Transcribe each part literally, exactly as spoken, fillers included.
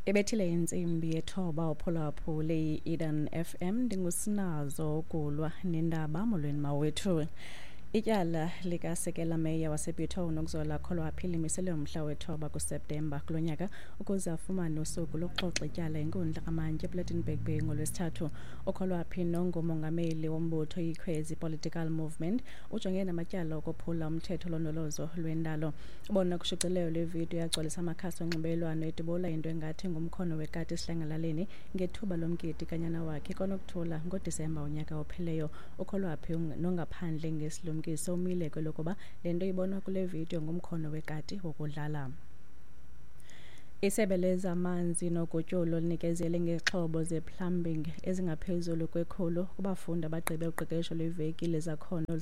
Ibethile intsimbi yethoba uphulaphule i-Eden F M. Ndingusinazo ukulwa nendaba. Molweni mawethu. Ityala likasekela meya waseBitou uNokuzola Kholwaphi limiselwe umhla wethoba kuSeptemba kulo nyaka ukuze afumane usuku lokuxoxa ityala inkundla kamantyi ePlettenberg Bay ngoLwesithathu. UKholwaphi nongumongameli wombutho iKhwezi Political Movement ujongene namatyala okophula umthetho olondolozo lwendalo. Ubona kushicilelo lwevidiyo yagcwalisa amakhasi onxibelelwano edubula into engathi ngumkhono wekati esihlangalaleni ngethuba lomgidi kanyana wakhe koNokuthula ngoDisemba unyaka opheleyo. UKholwaphi nongaphandle ngesilumkiso umile kwelokuba le nto ibonwa kule vidiyo ngumkhono wekati wokudlala. Isebe lezamanzi nogutyulo linikezele ngezixhobo ze-plumbing ezingaphezulu kwekhulu kubafundi abagqibe uqeqesho lweveki lezakhono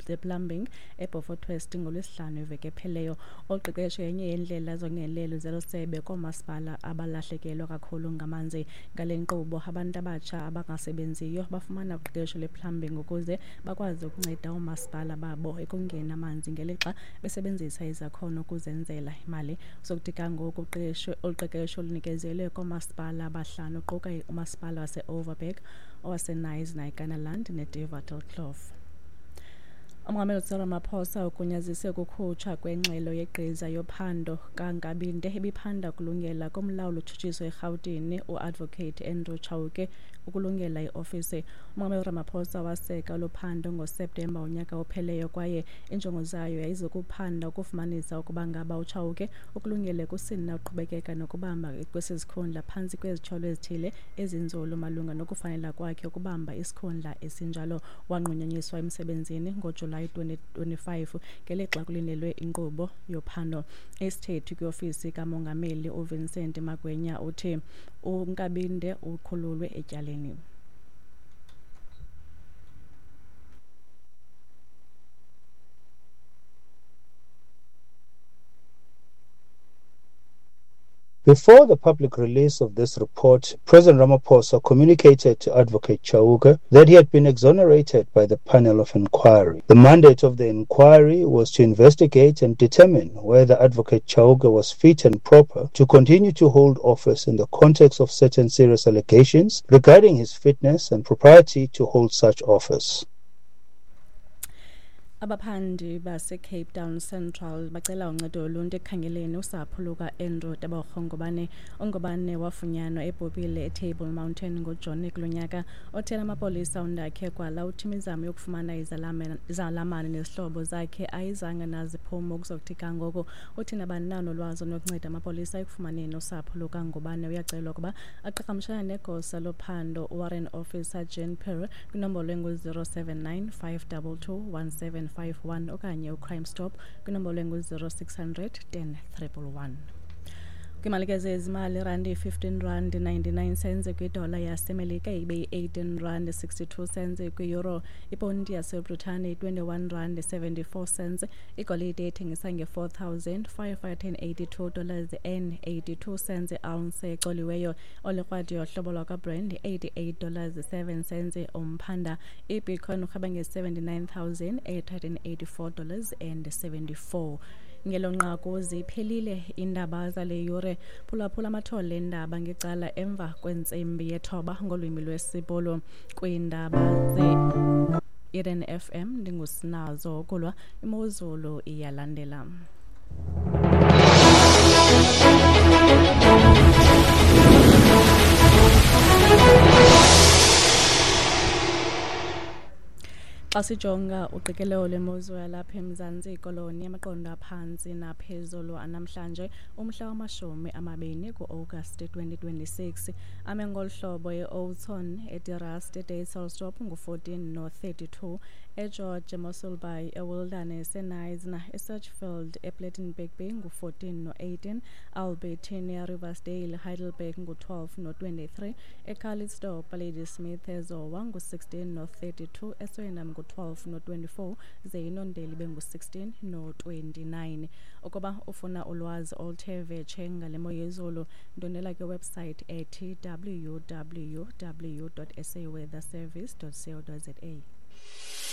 ze-plumbing eBeaufort West ngoLwesihlanu iveki epheleyo. Olu qeqesho yenye yeendlela zongenelelo zelo sebe koomasipala abalahlekelwa kakhulu ngamanzi. Ngale nkqubo, abantu abatsha abangasebenziyo bafumana uqeqesho lwe-plumbing ukuze bakwazi ukunceda oomasipala babo ekongeni amanzi ngelixa besebenzisa izakhono ukuzenzela imali. Sokuthi kangoku olu qeqesho lunikezelwe koomasipala abahlanu kuquka umasipala wase-Overberg, owaseKnysna, iKanaland neDevatalkloof. Umongameli Cyril Ramaphosa ugunyazise ukukhutshwa kwengxelo yegqiza yophando kaNkabinde ebiphanda ukulungela komlawuli otshutshiso eRhawutini uAdvocate Andrew Chauke ukulungela iofisi. Umongameli Ramaphosa waseka olu phando ngoSeptemba unyaka opheleyo kwaye injongo zayo yayizokuphanda ukufumanisa ukuba ngaba uChauke ukulungele kusini na uqhubekeka nokubamba kwesi sikhundla phantsi kwezityholo ezithile ezinzulu malunga nokufanela kwakhe ukubamba isikhundla esinjalo. Wanqunyanyiswa emsebenzini ngoJulayi twenty twenty-five ngelixa kulindelwe inkqubo yophando. Isithethi kwiofisi kamongameli uVincent Magwenya uthi uNkabinde ukhululwe etyaleni. Before the public release of this report, President Ramaphosa communicated to Advocate Chauke that he had been exonerated by the panel of inquiry. The mandate of the inquiry was to investigate and determine whether Advocate Chauke was fit and proper to continue to hold office in the context of certain serious allegations regarding his fitness and propriety to hold such office. Abaphandi base-Cape Town Central bacela uncedo loluntu ekukhangeleni usapho luka-Andrew Tebogo Ngobane. UNgobane wafunyanwa ebhubhile eTable Mountain ngoJuni kulo nyaka. Othela amapolisa uNdakhe Kwala uthi imizamo yokufumana izalamane nezihlobo zakhe ayizange naziphumo ukuzokuthi ga ngoku. Uthi nabani na onolwazi olunokunceda amapolisa ekufumaneni usapho lukaNgobane uyacelwa ukuba aqhagamshelane negosa lophando uWarrant Officer Jean Perry kwinombolo engu-zero seven nine five double two one seven five one okanye uCrime Stop kwinombolo engu-zero six hundred ten triple one. Kwimalike zezimali, irandi fifteen rand ninety-nine cents kwidola yaseMelika ibe yi-eighteen rand sixty-two cents kwi-euro. Iponti yaseBritane twenty-one rand seventy-four cents. Igolide ethengisa nge-four thousand five hundred and eighty-two dollars and eighty-two cents ounce ecoliweyo. Olikrwadi yohlobo lwakwaBrand eighty-eight dollars seven cents umphanda. IBitcoin urhweba nge-seventy-nine thousand eight hundred and eighty-four dollars and seventy-four. Ngelo nqaku ziphelile iindaba zale yure. Phulaphula amathole eendaba ngecala emva kwentsimbi yethoba ngolwimi lwesiBhulu. Kwiindaba ze-Eden F M ndingusinazo ukulwa imozulu iyalandela. Xa sijonga uqikelelo lwemozulu yalapha eMzantsi Koloni, amaqondo aphantsi naphezulu anamhlanje umhla wamashumi amabini ku-Agasti twenty twenty-six ame ngolu hlobo: e-Oudtshoorn, eDe-Rust, eDysselsdorp ngu-fourteen no-thirty-two, eGeorge, eMossel Bay, eWilderness, eKnysna, eSearchfield, ePlettenberg Bay ngu-fourteen no-eighteen, Albertine, eRiversdale, Heidelberg ngu-twelve no-twenty-three, eCalitzdorp, Ladysmith, eZowa ngu-sixteen no-thirty-two, eSwellnum ngu-twelve no-twenty-four, ze iNondeli bengu-sixteen no-twenty-nine. Ukuba ufuna ulwazi oluthe vetshe ngale mo yezulu, ndwendwela kwiwebsite ethi w w w dot s a weather service dot co dot za.